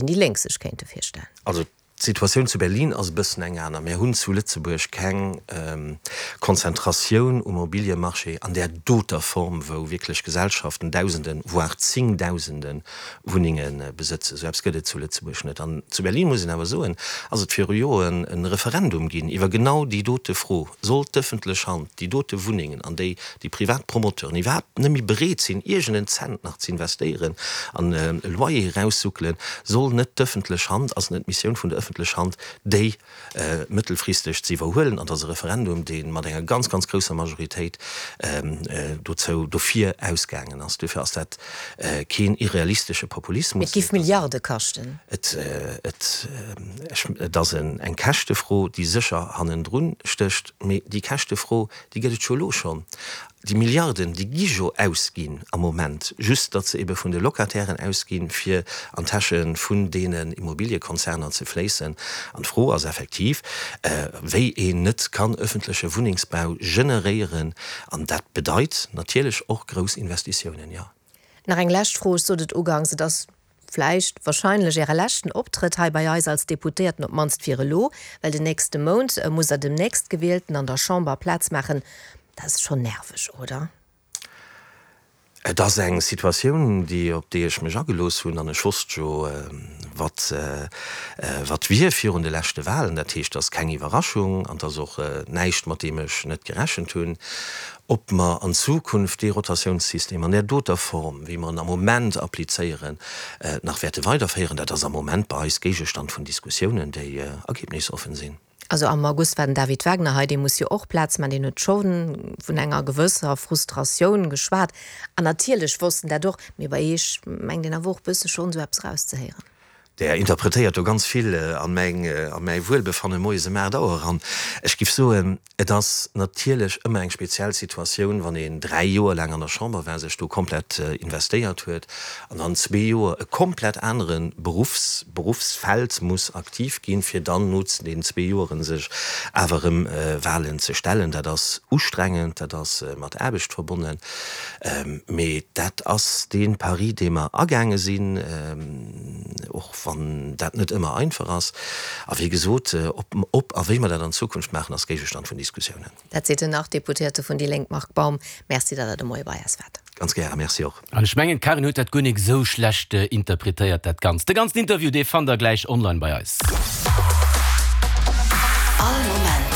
Déi Lénk sech kéinte virstellen. Also d'Situatioun zu Berlin ass e bëssen eng aner. Mir hunn zu Lëtzebuerg keng Konzentratioun um Immobiliemarché an där doter Form, wou wierklech Gesellschaften Dausenden, voire Zingdausende Wunnenge besëtzen. Esou eppes gëtt et zu Lëtzebuerg net. An zu Berlin, muss een awer soen, ass et viru Joren e Referendum ginn iwwer genau déi dote Fro, Soll d'ëffentlech Hand déi dote Wunnengen, an déi déi privat Promoteuren iwwerhaapt net méi bereet sinn, iergend en Cent nach ze investéieren an e Loyer eraussuckelen, soll net d'ëffentlech Hand, ass net d'Missioun vun der ëffentlech Hand, déi mëttelfristeg ze iwwerhuelen? An et ass e Referendum, dee mat enger ganz, ganz grousser Majoritéit dozou, dofir ausgaangen ass. Duerfir ass dat keen irrealistesche Populismus. Et géif Milliarde kaschten. Et, et, et ass eng Käschtefro, déi sécher hannendrun stécht. Mee déi Käschtefro, déi gëtt et jo elo schonn. Déi Milliarden, déi gi jo ausginn am Moment, just datt se ebe vun de Locatairen ausginn, fir an d'Täsche vun deenen Immobiliekonzerner ze fléissen. An d'Fro ass effektiv, wéi een net kann öffentleche Wunnengsbau generéieren. An dat bedeit natierlech och grouss Investitiounen, jo. Nach eng lescht Fro, Ech sot et uganks, et ass vläicht, wahrscheinlech Äre leschten Optrëtt hei bei eis als Deputéierten, op d'mannst fir elo, well den nächste Mount musst Der dem Nächstgewielten an der Chamber Plaz maachen. Dat ass schonn nerveg, oder? Et ass eng Situatioun, déi, op déi ech mech agelooss hunn, an ech wosst jo, wat, wat wier virun de leschte Wahlen. Dat heescht, et ass keng Iwwerraschung an et ass och näischt, mat deem ech net gerechent hunn. Ob mer an Zukunft dee Rotatiounssystem an där doter Form, wéi mer en am Moment applizéieren, nach wäerte weiderféieren, dat ass am Moment bei eis Géigestand vun Diskussiounen, déi ergebnisoffen sinn. Also am August war den David Wagner hei, dee muss jo och Plaz maachen, deen huet scho vun enger gewësser Frustratioun geschwat. An natierlech wosst en dat och, mee bei Iech mengt een awer och e bësse schonn esou eppes erauszehéieren. Der interpretéiert do ganz vill an mäin, a mäi Wuelbefanne moies ëm 8 Auer eran. Ech giff soen, et ass natierlech ëmmer eng speziell Situatioun, wann een 3 Joer laang an der Chamber war, sech do komplett investéiert huet an dann zwee Joer e komplett anere Beruffs, Beruffsfeld muss aktiv ginn, fir dann no den zwee Joeren sech awer erëm Wahlen ze stellen. Dat ass ustrengend, dat ass mat Aarbecht verbonnen. Mee dat ass dee Pari, dee mer agaange sinn, och wann dat net ëmmer einfach ass. A wéi gesot, ob a wéi mer dat an Zukunft maachen, ass Géigestand vun Diskussiounen. Dat seet den Nach-Deputéierte vun déi Lénk Marc Baum. Merci, datt Der de Moie bei eis waart. Ganz gäre, Merci och. An ech mengen, d'Karin huet dat guer nik esou schlecht interpretéiert, dat Ganzt. De ganzen Interview, dee fannt der gläich online bei eis. All Moment.